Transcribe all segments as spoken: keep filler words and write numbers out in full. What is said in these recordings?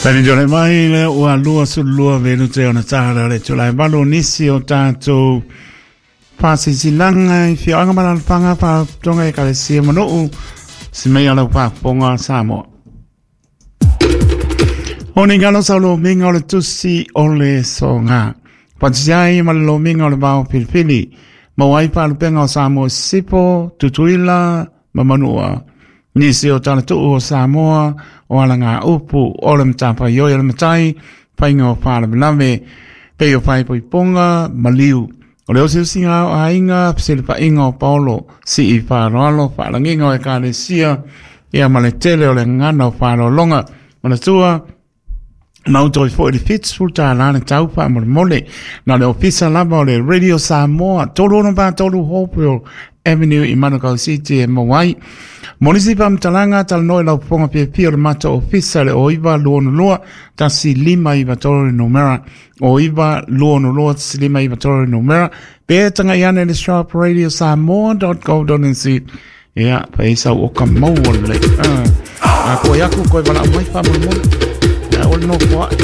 Tani jole mai le ua lua sulua velu te ona tāra le tula e malu nisi o tātou whasisilaga i fioanga malalafanga whatonga e kalesia manuu si mei alau whaponga Samoa. O ni ngalo sa lo minga o le tusi o le songa. Patisiai ma le lomiga o le vao filifili. Mau ai faalupega o Samoa Sisipo, Tutuila ma Manua. Nisi o talatuu o Samoa o alaga upu o le matafaioi o le matai, faiga o faalavelave, pei o faaipoipoga maliu. O le osiosiga o aiga, fesilafaiga o Paolo, sii faaaloalo, faalagiga o ekalesia, ia ma le tele o le gagana o faaaloaloga. Manatua, mautoi foi le fitusefulu tālā le tau faamolemole. Na le ofisa lava o le Radio Samoa, tolu ono pa tolu Hopewell Avenue i Manukau City e maua ai. Mo nisi faamatalaga talanoa i lau fofoga fiafia o le matou ofisa le o iva lua ono lua tasi lima iva tolu le numera o iva lua ono lua tasi lima iva tolu le numera pe taga'i ane le shop radio samoa dot co dot nz ia faisa o ka maua lelei a koe aku koe valaau mai faamolemole ia o le nofo ae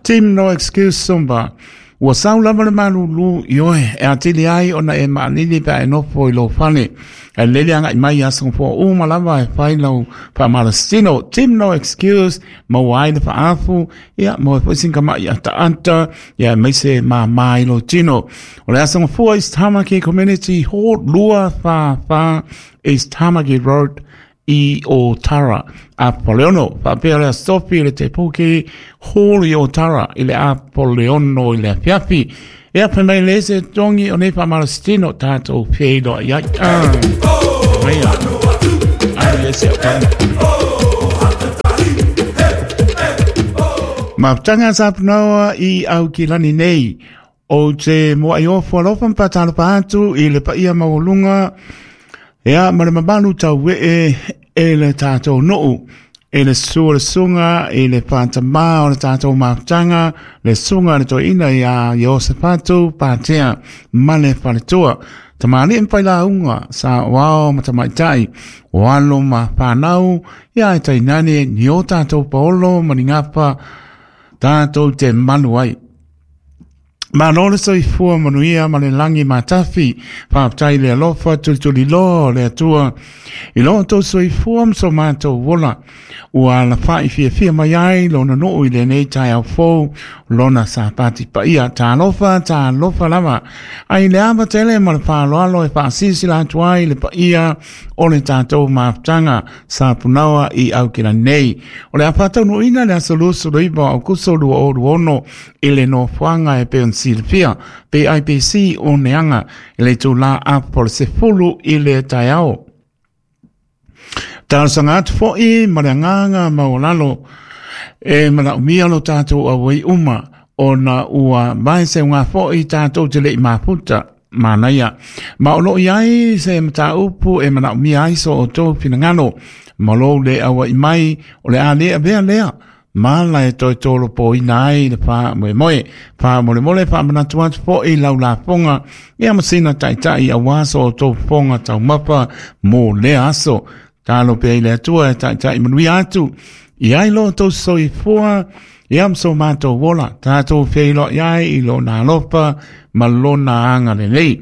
Team No Excuse Zumba. Ua sau lava le malūlū i oe e atili ai ona e maalili pe a e nofo i lou fale. E lele agaʻi mai ia asogafoa uma lava e fai lau faamalositino. Team No Excuse maua ai le faaafu ia maua ai foʻi sinikamaʻi ataata ia e maise māmā i lou tino. O le asogafua East Tamaki Community Hall lua fa fa East Tamaki Road i Otara. Apoleono, faapea le asofi le te puki Hall i Otara i le Apoleono i le afiafi. E ape mai le ese tongi o nei faamalositino tātou feiloa i ai. Ah, maia. Ai le se o kama. Mafutaga sa punaoa i Aukilani nei. O te moai ofo alofa mpatalofa atu i le paia maualuga ia ma le mamalu tauee e le tātou nuu. E le sua le sunga i le whātamā o le tātou mafutaga, le sunga le toeina ia Iosefatu Patea ma le faletua. Tamalii ma failauga sa o ao ma tamaitai, o alo ma whanau, ia e tainane ni o tātou paolo ma ni ngapa tātou te malu ai. Malo le soifua manuia ma le lagi matafi, faafetai le alofa tulituliloa o le Atua. I lo outou soifua ma so matou ola, ua alafaʻi fiafia mai ai lona nuu i lenei taeao fou, lona sapati paia. Talofa, talofa lava. Ai le ava tele ma le faaaloalo e faasilasila atu ai le paia o le tatou mafutaga sa punaoa i Aukilani nei. O le a faataunuuina le aso luasefulu iva o Aukuso lua o lua ono i le nofoaga e pei ona silafia P I P C o Neaga i le itulā apo le sefulu i le taeao. Talosaga atu foʻi ma le agaga maualalo e manaʻomia lo tatou auai uma ona ua vae seuga foʻi tatou te leʻi mafuta manaia. Ma o loo iai se mataupu e manaʻomia ai so outou finagalo ma lou le auaʻi mai o le a lē avea lea ma la e toe tolopoina ai le faamoemoe. Faamolemole faamanatu atu foʻi lau lafoga ia ma sina taʻitaʻi auā so outou fofoga taumafa mo lea aso. Talo pea i le Atua e taʻitaʻi manuia atu i ai lo outou soifua ia ma so matou ola. Tatou feiloai ai i lona alofa ma lona agalelei.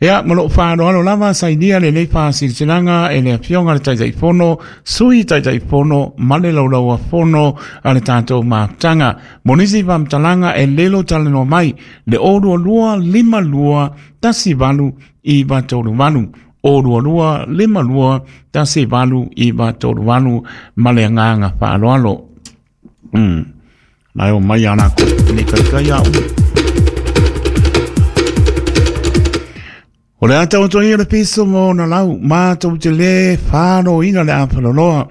Ia ma lou faaaloalo lava sainia lenei faasilasilaga e le afioga le Taitaifono, Sui Taitaifono ma le Laulauafono a le tatou mafutaga. Mo nisi faamatalaga e lelo talanoa mai le o lua lua lima lua tasi valu iva tolu valu. O lua lua lima lua tasi valu iva tolu valu ma le agaga faaaloalo. Mm. Lai o mai ana ko ni kai kai au. O le ata o toia le piso mo na lau, mātou te le whāroina le apaloloa.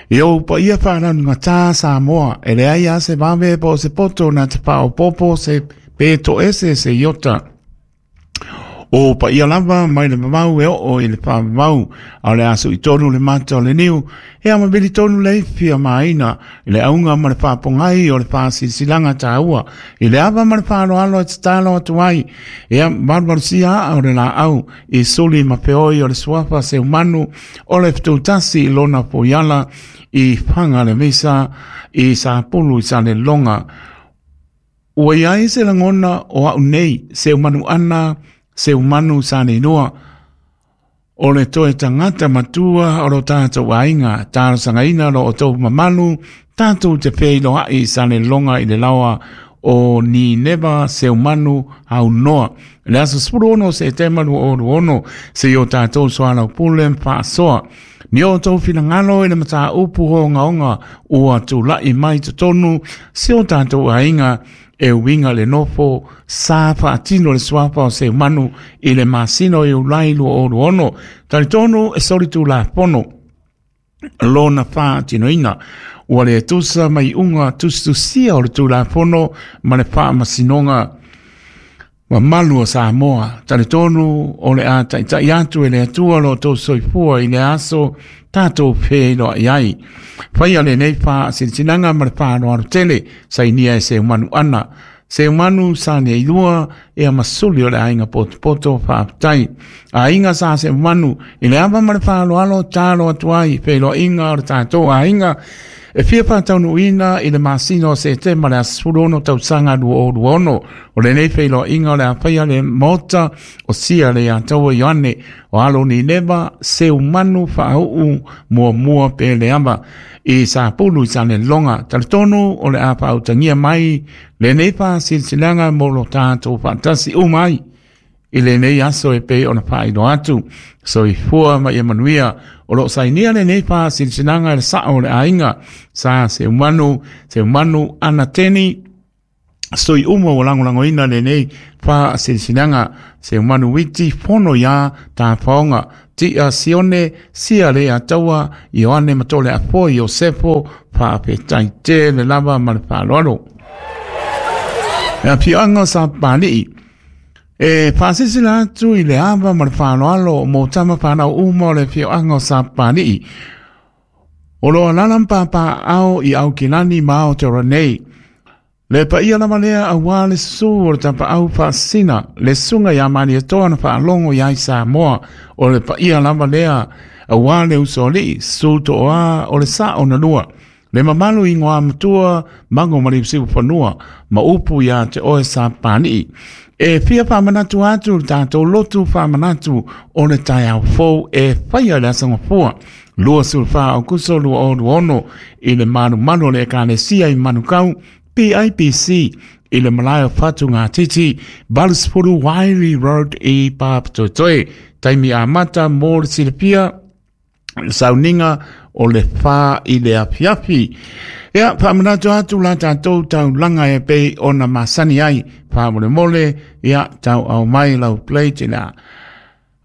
I o pa ia whānau ngā tā Samoa, e le ai a se vave po se poto na te pao popo se peto ese se iota. O paia lava mai le mamau e oo i le whaamau a le aso i tonu le mata o le niu e ama mili tonu le fia maina i le aunga ma le whaapongai o le whaasilisilanga tāua i le ava ma le whaaloalo e tatalo atu ai e malumalusia aa o le laau i suli ma peoi o le suafa Seumanu o le fetutasi i lona poiala i whanga le misa i Sapulu i Salelonga. Ua iai se langona o au nei Seumanu ana Seumanu Saninoa o le toe tangata matua o lo tātou aiga talosangaina lo o tou mamalu tātou te feiloai Salelonga i le laoa o Nineva Seumanu Haunoa le aso sefulu ono Setema lua o lua ono se i o tātou soalaupule ma faasoa ni o tou finagalo i le mataupu ogaoga ua tula'i mai totonu se o tātou aiga e uiga le nofo sa faatino le suafa o Seumanu i le masina o Iulai lua o lua ono talitonu e solitulafono lona faatinoina ua le tusa mai uga tusitusia o le tulafono ma le faamasinoga mamalu o Samoa. Talitonu o le a taitai atu e le Atua lo tou soifua i le aso tātou feiloai ai. Faia lenei faasilasilaga ma le faaaloalo tele sainia e Seumanu ana Seumanu Saneilua e a masuli o le aiga potopoto faafetai. Aiga sa Seumanu i le ava ma le faaaloalo talo atu ai feiloaiga o le tātou aiga e fia whātaunuina i le masina o Setema le aso sefulu ono tausaga lua o lua ono o lenei feiloaiga o le afaia le maota o sia le Ataua Ioane o alo Nineva Seumanu whaau muamua pe le ava i Sapulu i Salelonga. Talitonu o le a whaautangia mai lenei whasilasilaga mo lo tātou whaatasi umai i lenei aso e pe ona whaailoa atu. Soifua ma ia manuia o lo sainia lenei whasilasilaga le sao le aiga sa Seumanu Seumanu Anateni sui uma o langolangoina lenei whasilasilaga Seumanu Witi fono ia tāwhaonga tia Sione sia le Ataua Ioane Matole Apo Iosefo whaafetai te le lava ma le whaaloalo. Ea pianga sa pāli'i e whaasisila atu i le ava ma le whaaloalo mo tama whanau uma o le fioanga o Sapali'i. O loa lalam pāpā ao i Aukilani ma Aotearoa nei. Le paia lava lea auā le susu o le tapaau faasasina le susuga iā Malietoa na faalogo iai Samoa. O le paia lava lea auā le usoali'i susu to'oā o le sa'o na lua. Le mamalu i ngoa matua mago ma le usiu fanua ma upu iā te oe Sapali'i. E fia whaamanatu atu le tātou lotu whaamanatu o le taeao fou e whaia le aso gafua. Lua sulfa o kuso lua o lua ono i le malumalu o le ekalesia i Manukau P I P C i le malae o Whatu Ngā Titi Balusfuru Wairi Road i Papatoetoe. Taimi amata mō le silapia sauninga o le wha i le afiafi. Ia, whaamanatu atu la tātou taulanga e pei ona masani ai. Whaamolemole, ia, tau au mai lau plate i la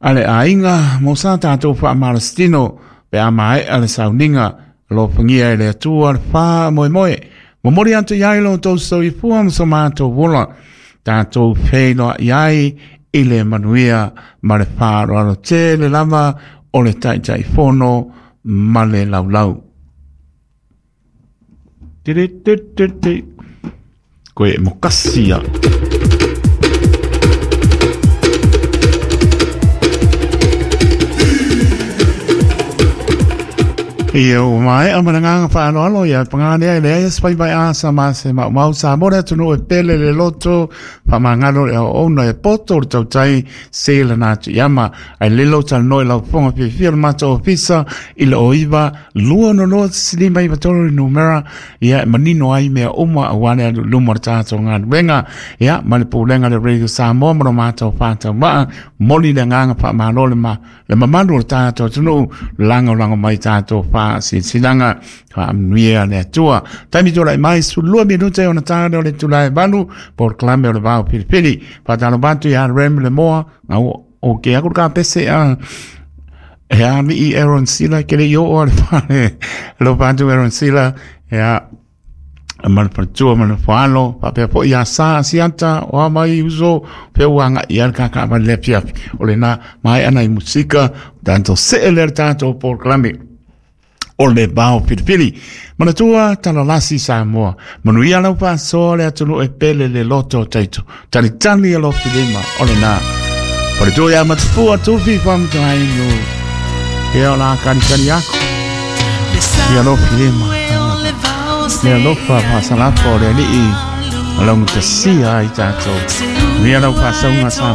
ale aiga mo sa tātou whaamalastino pe a mae a le sauninga lo whangia e le atua le wha moe moe. Momori atu iai lo tau soifua ma so mātou wola. Tātou wheiloa iai i le manuia ma le whaaroaro te le lava o le taitai fono ma le laulau. Tiri tiri tiri tiri. Koe e mokasia. Ia o mai a mananga whaaloalo ia pangane le ia spai vai asa ma se mau mau sa mora tunu e pele le loto whamangalo e o ona e poto le tautai se le nā tu iama ai lelo tal noi lau ponga pia le mata ofisa i le oiva lua no loa silima i matoro i numera ia e manino ai mea uma a wane alu luma le tātou ngā wenga ia ma le pūlenga le Radio Samoa ma lo mātou whātau maa moli le nganga whaamalo le ma le mamalu o le tātou tunu lango lango mai tātou wha silsilanga whaamnuia le atua. Taimi tō mai su lua minute o na tāne o le tulae valu por klame o le vao pilipili. Whātalo batu ia rem le moa ngau o ke aku ka pese a e a mi Aaron Sila ke le i o o le whare lo batu Aaron Sila e a Ma le faletua ma le foalo faapea foʻi ia Sa Asiata o a mai uso fea ua agaʻi ai le kakavale le afiafi o lena maeʻa nai musika tatou see lea le tatou polokalame o le Vao Filifili. Manatua talalasi Samoa. Manuia lau faasoa le atunuu e pele le loto o taito. Talitali alofi lima o lena. Faletua ia matupua tufi faamatagainu. Ia o la kalikali aku. Ia alofi lima. Le alofa faasalafa o le Alii. O laugatasia ai tatou. Manuia lau faasauga Samoa.